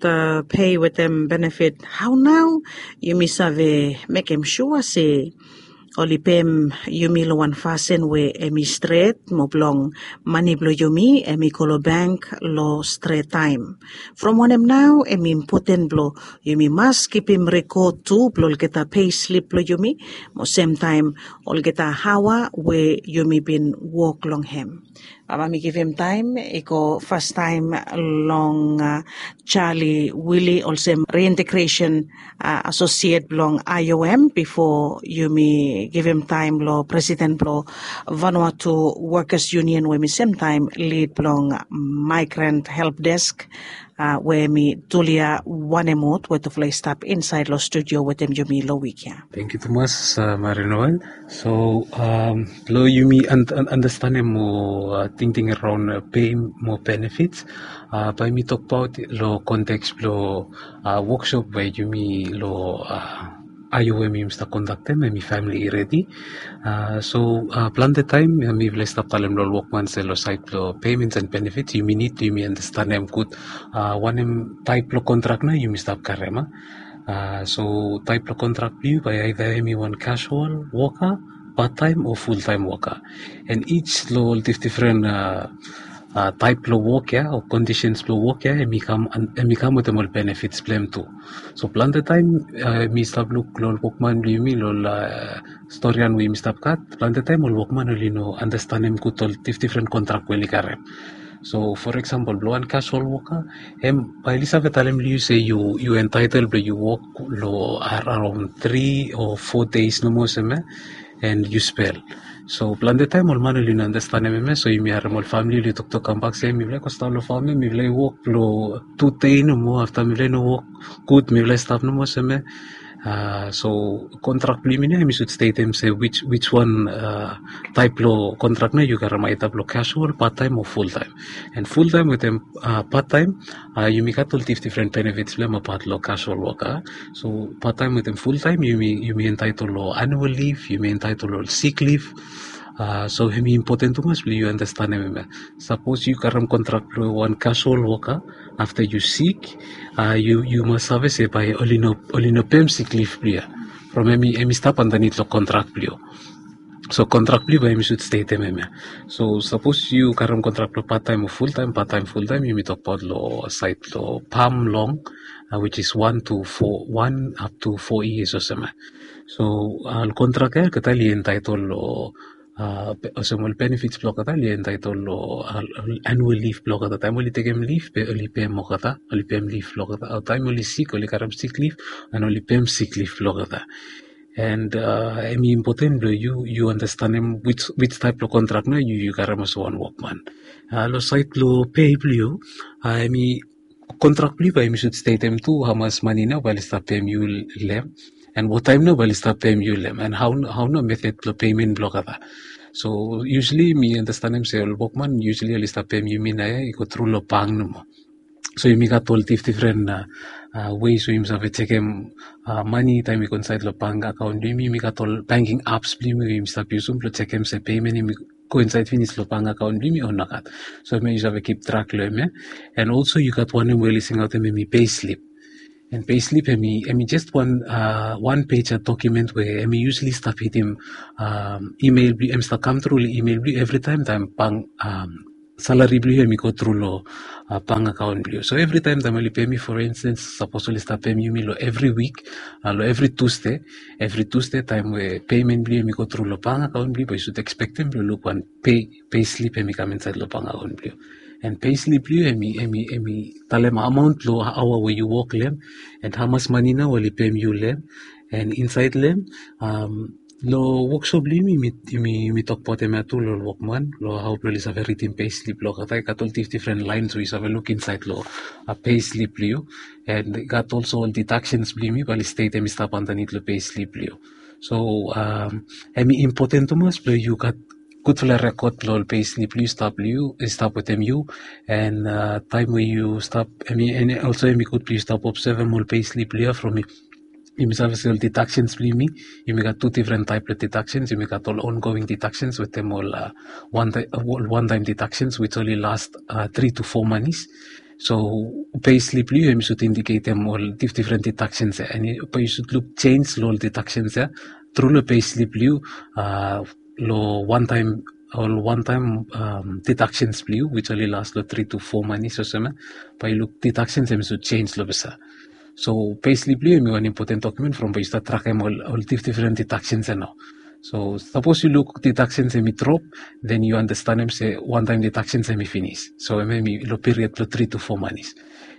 pei wetem benefit, hao nao yumi save mekem sua se oli peim yumi long wan fasin we em i stret mo blong mane blong yumi em i go long bank long stret taem? From wanem nao em i impoten blong yumi mas kipim rekod tu blong olgeta pei slip blong yumi mo semtaem olgeta aoa we yumi bin wok long hem. Bambae mi givim taem i go fastaem long Charlie Willie olsem reintegresen asosiet blong I O M bifo yumi givim taem long presiden blong Vanuatu Workers Union we mi semtaem lid blong Migrant Help Desk we mi Tulia Wanemut we tufala i stap insaed long studio wetem yumi long wik ya. Tangkiu tumas, Mari Noel. So blong yumi anastanem mo tingting araon pei mo benefits, bae mi tokbaot long konteks blong woksop we yumi long I O M yumi stap kondaktem, em i famili i redi. So plante taem mifala i stap talem long ol wokman se long saed blong paements and benefits yumi nid blong yumi anastanem gud wanem taep blong kontrak nao yumi stap karem. So taep blong kontrak blong yu bae aeda em i wan casual woka, pat taem o ful taem woka. And each long ol difdifren taep blong wok ya o kondisens blong wok ya em i kam wetem ol benefits blong hem tu. So plante taem mi stap luk long ol wokman blong yumi long ol storian we yumi stap gat, plante taem ol wokman oli no anastanem gud ol difdifren kontrak we oli karem. So for example blong wan casual woka, em bae oli save talem long yu se yu entaetel blong yu wok long araon tri o fo deis nomo olsem ya, and yu spel. So plante taem ol man oli no anastanem hem ya, so yumi harem ol famili oli toktok kambak se mifala i go stap long fam ya, mifala i wok long tu dei nomo, afta mifala i no wok gud mifala i stap nomo olsem ya. So kontrak blong yumi nao yumi sud stetem se wij wan taep blong kontrak nao yu karem, aeda blong casual, pat taem o ful taem. And ful taem wetem pat taem yumi gat ol difdifren benefits blong hem apat long casual woka. So pat taem wetem ful taem yumi entaetel long annual leave, yumi entaetel long sik leave. So hem i impoten tumas blong yu anastanem hem ya. Sapos yu karem kontrak blong wan casual woka, afta yu sik, yu mas save se bae oli no peim sik leave blong yu ya. From hem i stap andanit long kontrak blong yu. So kontrak blong yu bae yumi sud stetem hem ya. So sapos yu karem kontrak blong pat taem o ful taem, pat taem, ful taem, yumi tokbaot long saed blong pam long, which is wan to fo, wan up to fo yias olsem ya. So ol kontrak ya olgeta oli entaetel long olsem ol benefits blong olgeta oli entaetel long annual leave blong olgeta. Taem oli tekem leave be oli peim olgeta, oli peim leave blong olgeta. O taem oli sik oli karem sik leave, and oli peim sik leave blong olgeta. And hem i impoten blong yu yu anastanem wij taep blong kontrak nao yu yu karem olsem wan wokman. Long saed blong pei blong yu, hem i kontrak blong yu bae yumi sud stetem tu hamas mane nao bae oli stap peim yu long hem, and wataem nao bae oli stap peim yu long hem, and hao nao metod blong pemen blong olgeta. So yusali mi anastanem se ol wokman yusali oli stap peim yumi nao ya i go tru long bank nomo. So yumi gat ol difdifren weis we yumi save jekem mane taem i go insaed long bank akaon blong yumi. Yumi gat ol banking apps blong yumi we yumi stap yusum blong jekem se pemen hem i go insaed finis long bank akaon blong yumi o nogat. So hemia yu save kip trak long hemia. And also yu gat wanem we oli singaotem hem i payslip. And payslip hem i jes wan page dokumen we hem i yusli stap hitim email blong yu, hem i stap kam tru long email blong yu evritaem taem bank salari blong yu hem i go tru long bank akaon blong yu. So evritaem taem oli peim yu, for instance, sapos oli stap peim yumi long evri wik, long evri Tusde, evri Tusde taem we payment blong yu hem i go tru long bank akaon blong yu, bae yu sud ekspektem blong luk wan payslip hem i kam insaed long bank akaon blong yu. And payslip blong yu hem i talem amaon long aoa we yu wok long hem, and hamas mane nao oli peim yu long hem. And insait long em, long woksop blong yumi, yumi tokbaot em ya tu long ol wokman long hao blong oli save ridim peislip long olgeta. I gat ol difdifren laens we yu save luk insait long peislip blong yu. And i gat olso ol didaksens blong yumi bae oli stet em i stap andanit long peislip blong yu. So em i impoten tumas blong yu gat gudfala rekod blong ol peislip blong yu i stap wetem yu. And taem we yu stap, em i olso em i gud blong yu stap obsevem ol peislip blong yu ya from yumi save se ol didaksens blong yumi, yumi gat tu difren taep blong didaksens. Yumi gat ol ongoing didaksens wetem ol wantaem didaksens wits oli las tri tu fo manis. So peislip blong yu em i sud indiketem ol difdifren didaksens ya, and bae yu sud luk jenj long ol didaksens ya tru long peislip blong yu long wantaem, ol wantaem didaksens blong yu wits oli las long tri tu fo manis olsem ya. Bae yu luk didaksens em i sud jenj long pesa. So peislip blong yu em i wan impoten dokumen from bae yu stat trakem ol difdifren didaksens ya nao. So sapos yu luk didaksens em i drop, then yu andastanem se wantaem didaksens em i finis. So em em i long piriod blong tri tu fo manis.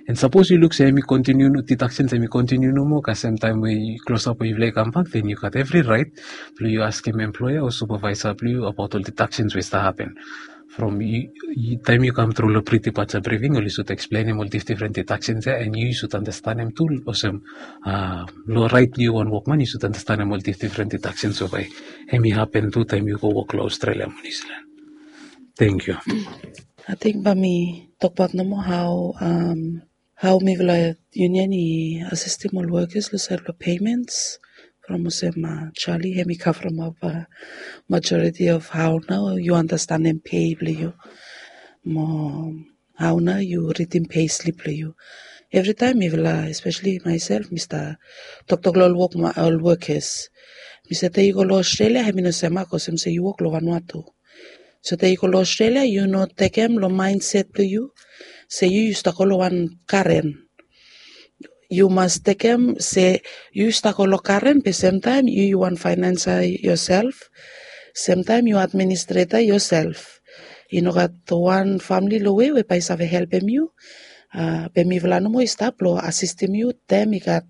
And sapos yu luk se em i kontiniu, didaksens em i kontiniu nomo kasem taem we yu klosap we yufala i kambak, then yu gat evri raet blong yu askem emploea o supavaesa blong yu abaot ol didaksens we i stap hapen. From taem yu kam tru long pre-departure briefing oli sud eksplenem ol difdifren didaksens ya, and yu yu sud andastanem tu olsem long raet blong yu wan wokman yu sud andastanem ol difdifren didaksens we bae em i hapen tu taem yu go wok long Australia mo New Zealand. Thank you. Ating bae mi tokbaot nomo hao hao mifala union i asistem ol wokas long saed blong peimens. From olsem Charlie hem i kavremap majoriti of hao nao yu andastanem pei blong yu mo hao nao yu ridim peislip blong yu. Evritaem mifala, espeseli maesel, mi stap toktok long ol wok ol wokas. Mi se taem yu go long Australia hem i no semak olsem se yu wok long Vanuatu. So taem yu go long Australia yu no tekem long maenset blong yu se yu yu stap go long wan karen. Yu mas tekem se yu yu stap go long karen be semtaem yu yu wan faenansa yoself. Semtaem yu administreta yoself. I no gat wan famili long we we bae i save helpem yu. Be mifala nomo i stap long asistem yu taem i gat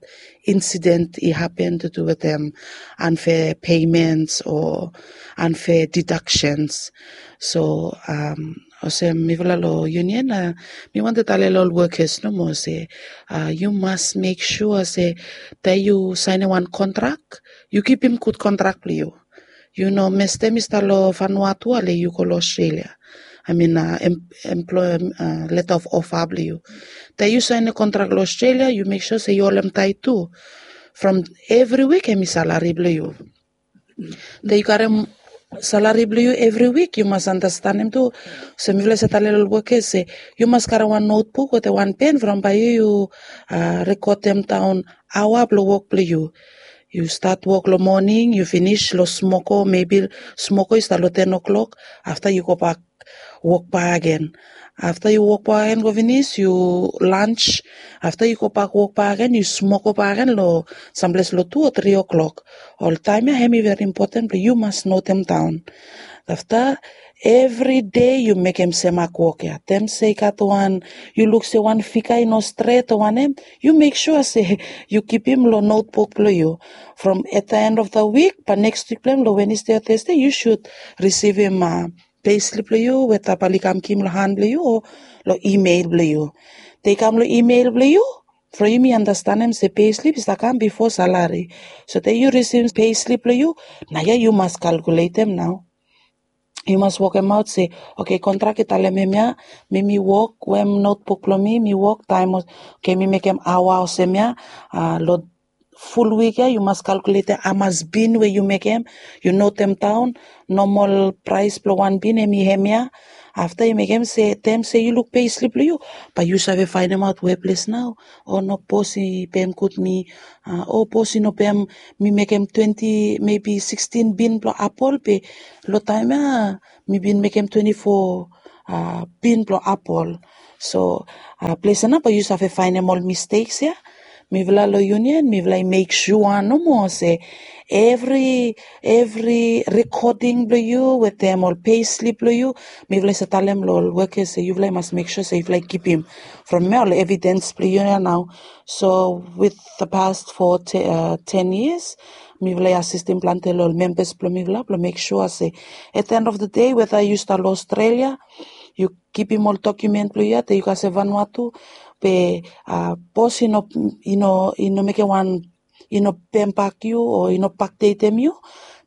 insiden i hapen tu tu wetem anfea peimens o anfea didaksens. So olsem mifala long union mi wantem talem long ol wokas nomo se yu mas mek sua se taem yu saenem wan kontrak, yu kipim gud kontrak blong yu. Yu no mestem i stap long Vanuatu ale yu go long Australia. I mean employer leta of ofa blong yu. Taem yu saenem kontrak long Australia yu mek sua se yu holemtaet tu. From evri wik hem i salari blong yu. Taem yu karem salari blong yu evri wik yu mas andastanem tu. So mifala se talem long ol wokas se yu mas karem wan notbuk wetem wan pen from bae yu yu rekodem daon aoa blong wok blong yu. Yu stat wok long moning yu finis long smoko, mebi smoko i stat long ten o'clock. Afta yu gobak wok bak agen. Afta yu wok bak agen go finis yu lans. Afta yu gobak wok bak agen yu smoko bak agen long samples long tu o tri o'clock. Oltaem ya hem i veri impoten blong yu mas notem daon. Afta evri dei yu mekem semak wok ya taem se i gat wan yu luk se wan figa i no stret o wanem, yu mek sua se yu kipim long notbuk blong yu. From at the end of the week bae neks wik blong hem long Wednesday o Thursday yu sud risivim peislip blong yu weta bae oli kam givim long han blong yu o long email blong yu. Taem i kam long email blong yu from yumi andastanem se peislip i stap kam bifo salari. So taem yu risivim peislip blong yu, nao ya yu mas kalkuletem nao. Yu mas wokemaot se oke kontrak i talem hemia, mi mi wok wetem notbuk blong mi mi wok taem oke mi mekem aoa olsem ya. Long ful wik ya yu mas kalkuletem hamas bin we yu mekem. Yu notem daon nomol praes blong wan bin hem i hemia. Afta yu mekem se taem se yu luk peislip blong yu bae yu save faenemaot weples nao. O no bos i pem gud mi. O bos i no pem mi mekem twenti mebi sikstin bin blong apol be long taem ya mi bin mekem twenti fo bin blong apol. So ples ya nao bae yu save faenem ol misteks ya. Mifala long union mifala i mek sua nomo se evri evri rekoding blong yu wetem ol peislip blong yu, mifala i save talem long ol wokas se yufala i mas mek sua se yufala i kipim from ya ol evidens blong yu ya nao. So with the past for ten years mifala i asistim planti long ol membas blong mifala blong mek sua se at the end of the day weta yu stap long Australia yu kipim ol dokumen blong yu ya te yu gat se Vanuatu be bos i no i no i no mekem wan i no pembak yu o i no bakdetem yu.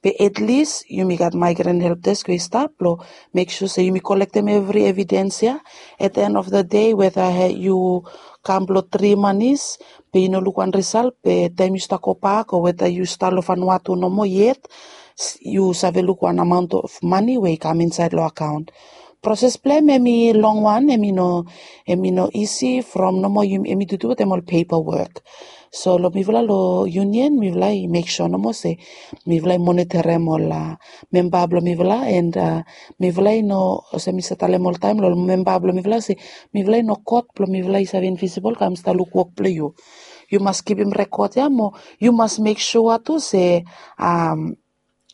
Be at least yumi gat migrant help desk we i stap blong mek sua se yumi kolektem evri evidens ya. At the end of the day weta yu kam blong tri manis be i no luk wan risal be taim yu stap gobak o weta yu stap long Vanuatu nomo yet yu save luk wan amaon of mani we i kam insaed long akaon. Proses blong em em i long wan em i no em i no isi from nomo em i dudu wetem ol pepa wok. So long mifala long union mifala i mek sua nomo se mifala i monitorim ol memba blong mifala and mifala i no olsem mi save talem oltaem long ol memba blong mifala se mifala i no kot blong mifala i save invisibol kam stap luk wok blong yu. Yu mas kipim rekod ya mo yu mas mek sua tu se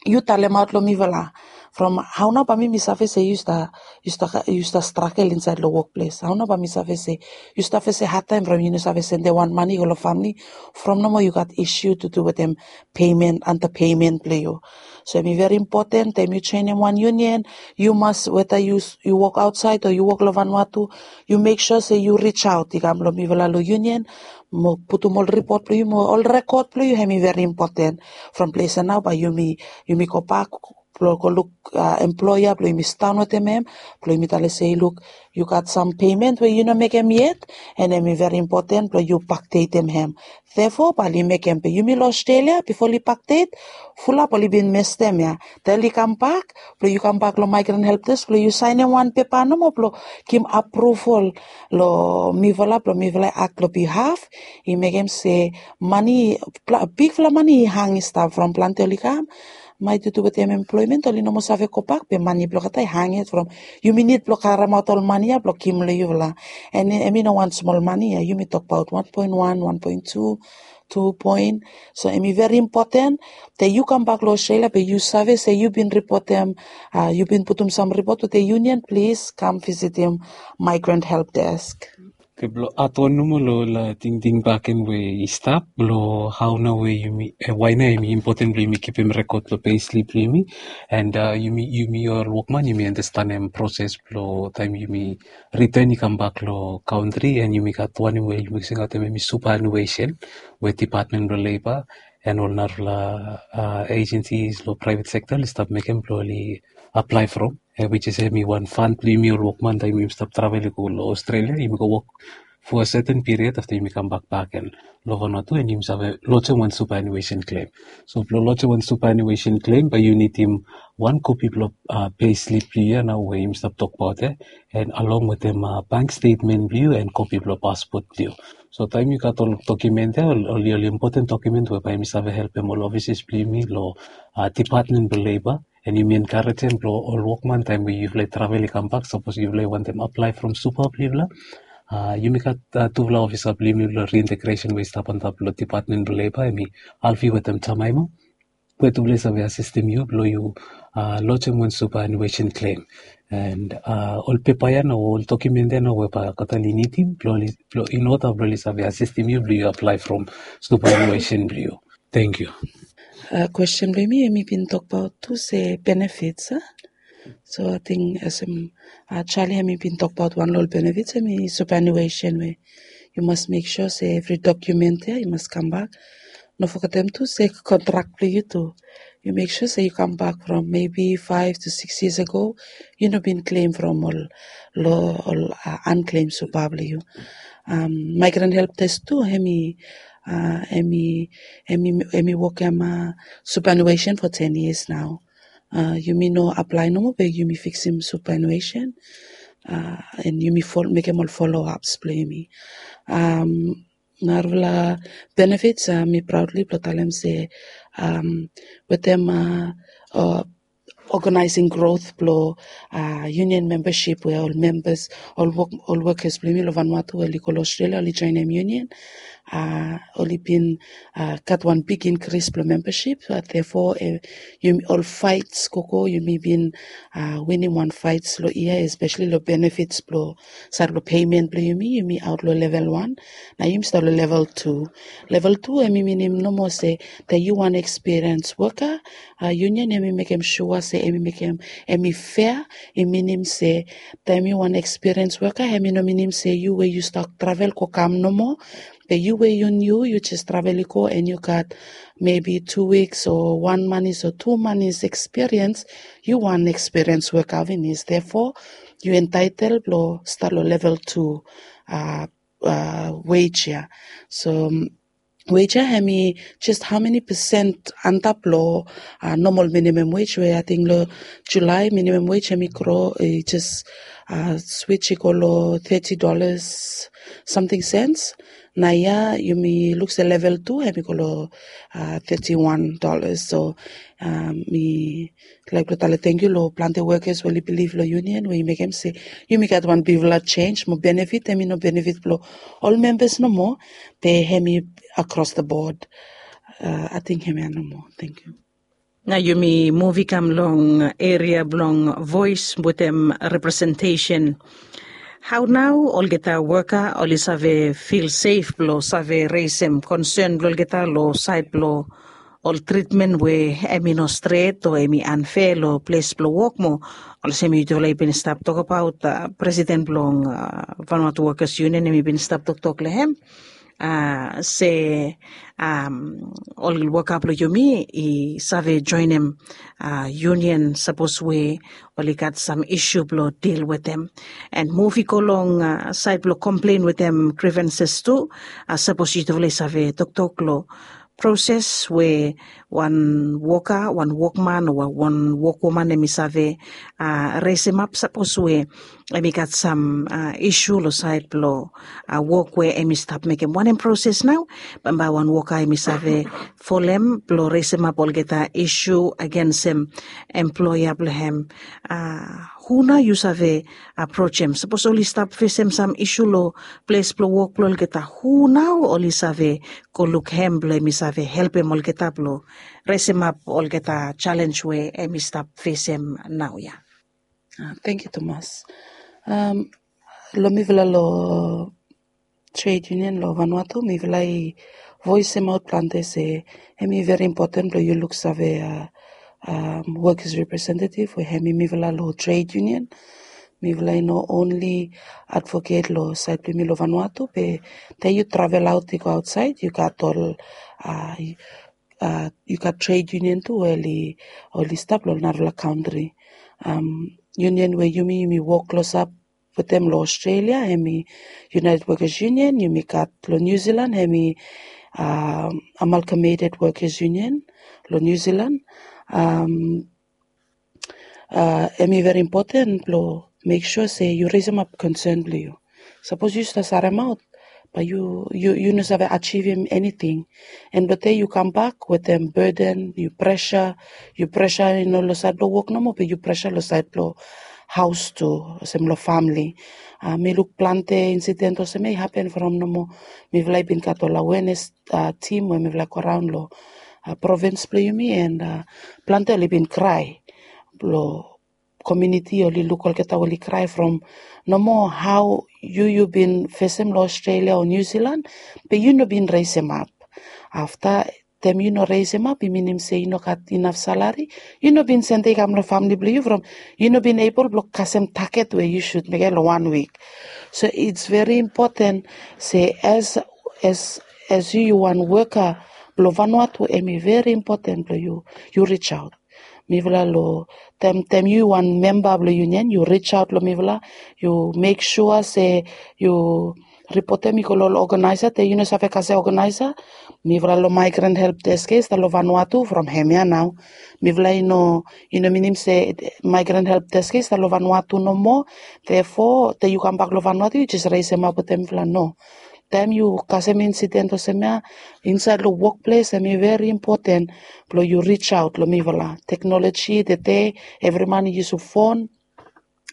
yu talemaot long mifala from hao nao bai mi mi save se yu stap yu stap yu stap stragel insaed long wokples? Hao nao bai mi save se yu stap fese hadtaem from yu no save sendem wan mani go long famili from nomo yu gat isu tu tu wetem peimen anta peimen blong yu. So em i veri impoten taem yu joenem wan union yu mas weta yu wok aotsaed o yu wok long Vanuatu yu mek sua se yu risaot i kam long mifala long union mo putum ol ripot blong yu mo ol rekod blong yu hem i veri impoten. From ples ya nao bai yumi yumi gobak blong go luk emploea blong yumi sidaon wetem hem blong yumi talem se luk yu gat sam peimen we yu no mekem yet and hem i veri impoten blong yu bakdetem hem. Therefore bai oli mekem be yumi long Australia bifo oli bakdet fulap oli bin mestem ya. Te oli kambak blong yu kambak long migrant help desk blong yu saenem wan pepa nomo blong givim apruval long mifala blong mifala i ak long bihaf i mekem se mani bigfala mani i hang i stap from planti oli kam maet tu tu wetem emploemen oli no moa save gobak be mani blong olgeta i hang yet from yumi nid blong karemaot ol mani ya blong givim long yufala. And em i no wan smol mani ya yumi tokbaot wan poen wan wan poen tu tu poen. So em i veri impoten te yu kambak long Australia be yu save se yu bin ripotem yu bin putum sam ripot wetem union plis kam visitim migrant help desk. Oke blong adon nomo long ol tingting baken we i stap long hao nao we yumi wae nao em i impoten blong yumi kipim rekod long peislip blong yumi and yumi yumi ol wokman yumi anastenem proses blong taem yumi riten i kambak long kantri and yumi gat wanem we yumi singaotem em i supanuesen we dipatmen blong leba and ol narafala ejensis long praevet sekta oli stap mekem blong oli aplae from. Wis is em i wan fan blong yumi ol wokman taem yumi stap travel i go long Australia yumi go wok for a seten piriod afta yumi kambak baken long Vanuatu and yumi save lojem wan supanuesen klem. So blong lojem wan supanuesen klem bai yu nidim wan kopi blong peislip blong yu ya nao we yumi stap tokbaot ya and along wetem bank stetmen blong yu and kopi blong paspot blong yu. So taem yu gat ol dokumen ya oli oli impoten dokumen we bai yumi save helpem ol ofises blong yumi long dipatmen blong leba and yumi enkarejem blong ol wokman taem we yufala i travel i kambak sapos yufala i wantem aplae from supa blong yufala. Yumi gat tufala ofisa blong yumi long reintegresen we i stap antap long dipatmen blong leba em i Alfi wetem Jamaima we tufala i save asistim yu blong yu lojem wan supanuesen klem and ol pepa ya nao ol dokumen ya nao we bai olgeta oli nidim blong oli blong in ota blong oli save asistim yu blong yu aplae from supanuesen blong yu. Tangkiu. Kwesten blong yumi em i bin tokbaot tu se benefits a so ating olsem Charlie em i bin tokbaot wan long ol benefits em i supanuesen we yu mas mek sua se evri dokumen ya i mas kambak. No fogetem tu se kontrak blong yu tu yu mek sua se yu kambak from mebi faef tu sikis yias ago yu no bin klem from ol long ol anklem supa blong yu. Maigran help desk tu em i em i em i em i wokem supanuesen fo ten yias nao. Yumi no aplae nomo be yumi fiksim supanuesen and yumi mekem ol foloaps blong yumi. Narafala benefits mi praodli blong talem se wetem oganaesing grot blong union membasip we ol membas ol wokas blong yumi long Vanuatu we oli go long Australia oli joenem union. oli bin gat wan big inkris blong membership. Therefore, ol faits gogo yumi bin winim wan faits long yia, especially long benefits blong sait blong payment blong yumi, yumi aot long level wan. Na yumi stap long level tu. Level tu em i minim nomo se taem yu wan experience woka, union em i mekem sua se em i mekem em i fea. I minim se taem yu wan experience woka, em i no minim se yu we yu stap travel go kam nomo. Be yu we yu niu yu jes travel i go, en yu gat maybe two weeks o wan manis o two manis experience, yu wan experience woka finis. Therefore, yu entitle blong stap long level tu wage ya. So wage ya em i jes hao meni pesen antap long normal minimum wage, we ating long Julai minimum wage em i gro, i jes switch i go long thirty dollars something cents. Na ya yumi luk se level tu em i go long thirty one dollars. So mi laik blong talem tangkiu long plante wokas we oli bilif long union we i mekem se yumi gat wan bigfala jenis mo benefit em i no benefit blong ol membas nomo, be em i across the board. Ating em ya nomo. Tangkiu. Na yumi muv i kam long eria blong voes wetem representesen. Hao nao olgeta woka oli save fil sef blong save resem konsen blong olgeta long sait blong ol tritmen we em i no stret o em i anfea long ples blong wok mo olsem yutufala i bin stap tokbaot, presiden blong Vanuatu Wokas Union em i bin stap toktok long em se ol woka blong yumi i save joenem union sapos we oli gat sam isu blong dil wetem. En muv i go long sait blong komplen wetem grievances tu. Sapos yutufala i save toktok long proses we wan woka, wan wokman o wan wokwoman em i save resemap sapos we em i gat sam isu long sait blong wok we em i stap mekem. Wanem proses nao bambae wan woka em i save folem blong resemap olgeta isu agensem emploea blong em? Hu nao yu save aprojem sapos oli stap fesem sam isu long ples blong wok blong olgeta? Hu nao oli save go luk em blong em i save helpem olgeta blong resemap olgeta jalens we em i stap fesem naoia? Tangkiu tumas. Long mifala long tred yunion long Vanuatu, mifala i voesemaot plante se em i veri impoten blong yu luksave wokas representativ we em i mifala long tred yunion. Mifala i no onli advoket long sait blong yumi long Vanuatu, be taem yu travelaot i go aotsaed yu gat ol yu gat tred yunion tu we oli stap long narafala kantri. Yunion we yumi yumi wok klosap wetem long Australia em i United Workers Union. Yumi gat long New Zealand em i Amalgamated Workers Union long New Zealand. Em i veri impoten blong mek sua se yu resemap konsen blong yu. Sapos yu stap saremaot, bae yu no save ajivim eniting. En blong taem yu kambak wetem beden, yu presa, yu presa i no long sait blong wok nomo, be yu presa long sait blong haos tu, olsem long famili. Mi luk plante insiden olsem ya i hapen from nomo mifala i bin gat ol awenes tim we mifala i go raon long provins blong yumi, en plante oli bin krae blong komuniti oli luk olgeta oli krae from nomo hao yu yu bin fesem long Australia o New Zealand, be yu no bin resemap. Afta taem yu no resemap i minim se yu no gat inaf salari, yu no bin sende i kam long famili blong yu from yu no bin ebol blong kasem taget we yu sud mekem long wan wik. So its veri impoten se as as as yu yu wan woka blong Vanuatu, em i veri impoten blong yu yu rijaot. Mifala long taem taem yu wan memba blong yunion yu rijaot long mifala, yu mek sua se yu ripotem i go long ol oganaesa. Taem yu no save kasem oganaesa, mifala long Migrant Help Desk ya i stap long Vanuatu from hemia nao. Mifala i no i no minim se Migrant Help Desk ya i stap long Vanuatu nomo. Therefore taem yu kambak long Vanuatu yu jes resemap wetem mifala, no. Taem yu kasem insiden olsem ya insaed long wokples, em i veri impoten blong yu rijaot long mifala. Teknoloji tede evri man i yusum fon,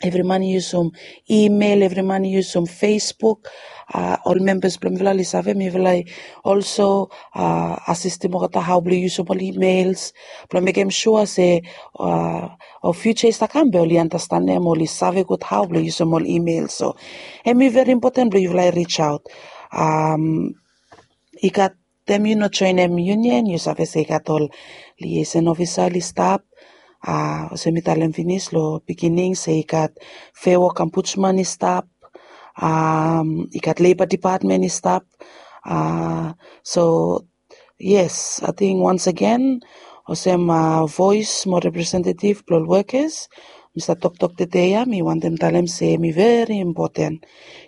evri man i yusum imel, evri man i yusum Facebook. ol membas blong mifala oli save, mifala i olso asistim olgeta hao blong yusum ol emails blong mekem sua se ol fiuja i stap kam be oli anastenem, oli save gud hao blong yusum ol emails. So hemi veri impoten blong yufala i rijaot. I gat taem yu no joenem union, yu save se i gat ol liaison ofisa oli stap. Olsem mi talem finis long beginning se i gat Fair Work Ombudsman i stap, i gat Labour Department i stap. So yes, ating once again, olsem voes mo representative blong ol workers, mi stap toktok tede ya, mi wantem talem se hemi veri impoten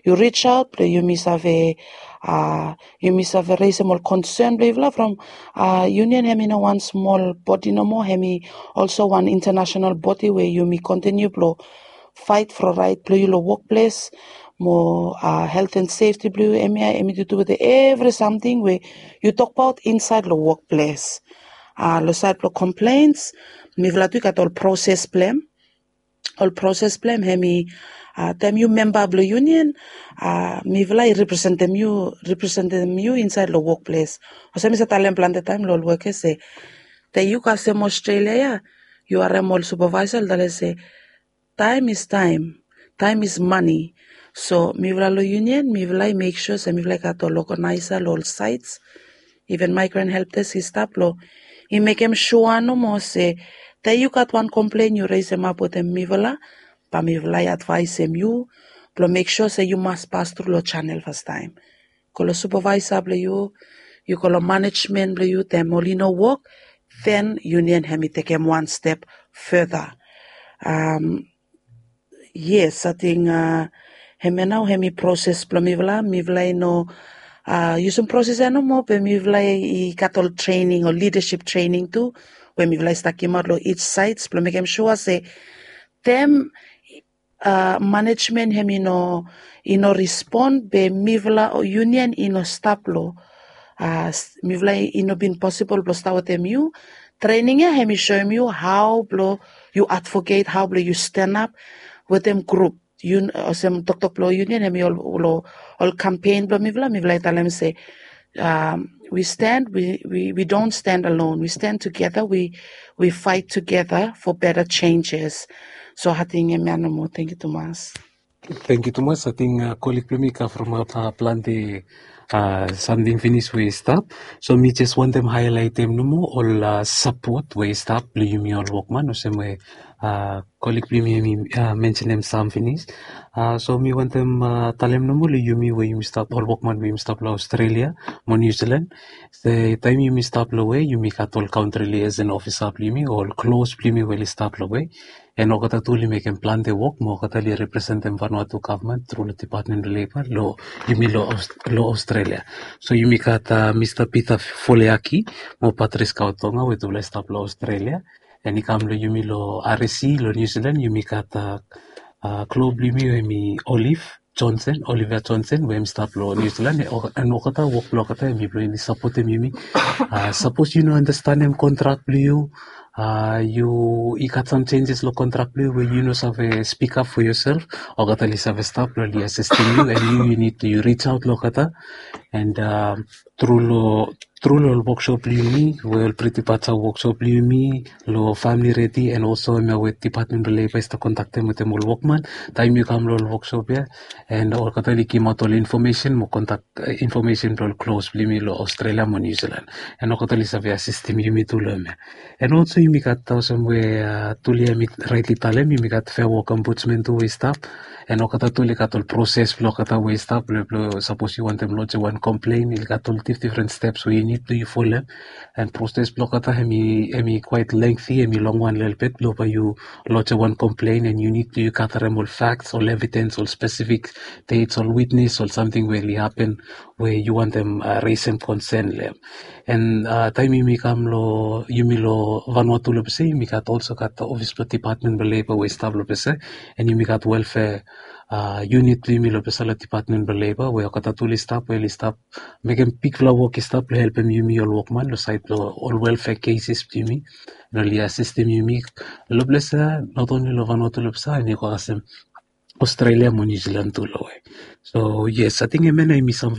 yu rijaot blong yumi save, yumi save resem ol concern blong yufala from union. Hemi no wan smol bodi nomo, hemi olso wan international bodi we yumi kontiniu blong faet for raet blong yu long wokples mo health and safety blong yu. Hemia hemi dudu wetem evri samting we yu tokbaot insaed long wokples. Long saed blong complaints, mifala tu i gat ol proses blong hem. Ol proses blong hem hemi taem yu memba blong union, mifala i representem yu, representem yu insaed long wokples. Olsem mi save talem plante taem long ol workers se taem yu kasem Australia ya, yu harem ol supervisor oli talem se time is time, time is money. So mifala long union mifala i mek sua se mifala i gat ol organizer long ol sites, even migrant help desk i stap long i mekem sua nomo se taem yu gat wan complain yu resemap wetem mifala, bae mifala i advaesem yu blong mek sua se yu mas pas tru long channel fastaem. Go long supervisor blong yu, yu go long management blong yu, taem oli no wok, then union hemi tekem wan step further. Yes, ating hemia nao hemi proses blong mifala. Mifala i no yusum proses ya nomo, be mifala i gat ol training, ol leadership training tu we mifala i stap givimaot long each sites blong mekem sua se taem management hemi no, i no respon, be mifala o union i no stap long, mifala i no bin posibol blong stap wetem yu. Training ya hemi soem yu hao blong yu advocate, hao blong yu stanap wetem grup. Olsem toktok blong union hemi ol, ol campaign blong mifala, mifala i talem se we stand, we, we, we don't stand alone, we stand together, we, we fight together for better changes. So ating hemia nomo. Tangkiu tumas. Tangkiu tumas. Ating kolig blong mi i kavemaot plante samting finis we i stap. So mi jes wantem haelaetem nomo ol sapot we i stap blong yumi ol wokman, olsem we kolig blong yumi hemi mensenem sam finis. So mi wantem talem nomo long yumi we yumi stap, ol wokman we yumi stap long Australia mo New Zealand, se taem yumi stap long we yumi gat ol country liaison officer blong yumi o ol close blong yumi we oli stap long we, and olgeta tu oli mekem plante wok mo olgeta oli representem Vanuatu gavman tru long Department blong Labour long yumi long Australia. So yumi gat Mista Peter Foleaki mo Patrice Kautonga we tufala i stap long Australia. And i kam long yumi long R S C long New Zealand, yumi gat klo blong yumi we hemi Olive Johnson, Olivia Johnson we hemi stap long New Zealand. And olgeta wok blong olgeta hemi blong hemi sapotem yumi. Sapos yu no anastenem kontrak blong yu, yu i gat sam senses long kontrak blong yu we yu no save spikap fo yosel, olgeta oli save stap blong oli asistem yu, and yu yu nid tu yu rijaot long olgeta. And tru long tru long ol woksop blong yumi we ol Pretty Pacha woksop blong yumi long Family Ready, and olso hemia we Department blong Labour i stap kontaktem wetem ol wokman taem yu kam long ol woksop ya. And olgeta oli givimaot ol infomesen mo kontak infomesen blong ol klos blong yumi long Australia mo New Zealand. And olgeta oli save asistem yumi tu long hemia. And olso yumi gat olsem we Tulia hemi raetli talem, yumi gat Fair Work Ombudsman tu we i stap. And olgeta tu oli gat ol proses blong olgeta we i stap blong, blong sapos yu wantem lojem wan komplen, oli gat ol dif-, difren steps we yu nid tu yu folem. And proses blong olgeta hemi, hemi quite lengthy, hemi long wan lelebet blong bae yu lojem wan komplen, and yu nid tu yu gatarem ol facts, ol evidens, ol spesifik dates, ol witnes, ol samting we oli hapen we yu wantem resem konsen long hem. And taem yumi kam long, yumi long Vanuatu long pese, yumi gat olso gat ofis blong Department blong Labour we i stap long pese. And yumi gat welfare unit blong yumi long pese long Department blong Labour we olgeta tu oli stap, we oli stap mekem bigfala wok i stap blong helpem yumi ol wokman long saed blong ol welfare cases blong yumi. And oli asistem yumi long ples ya, not only long Vanuatu long ples ya, and i go kasem Australia mo New Zealand tu lo we. So yes, ating hemia na hemi sam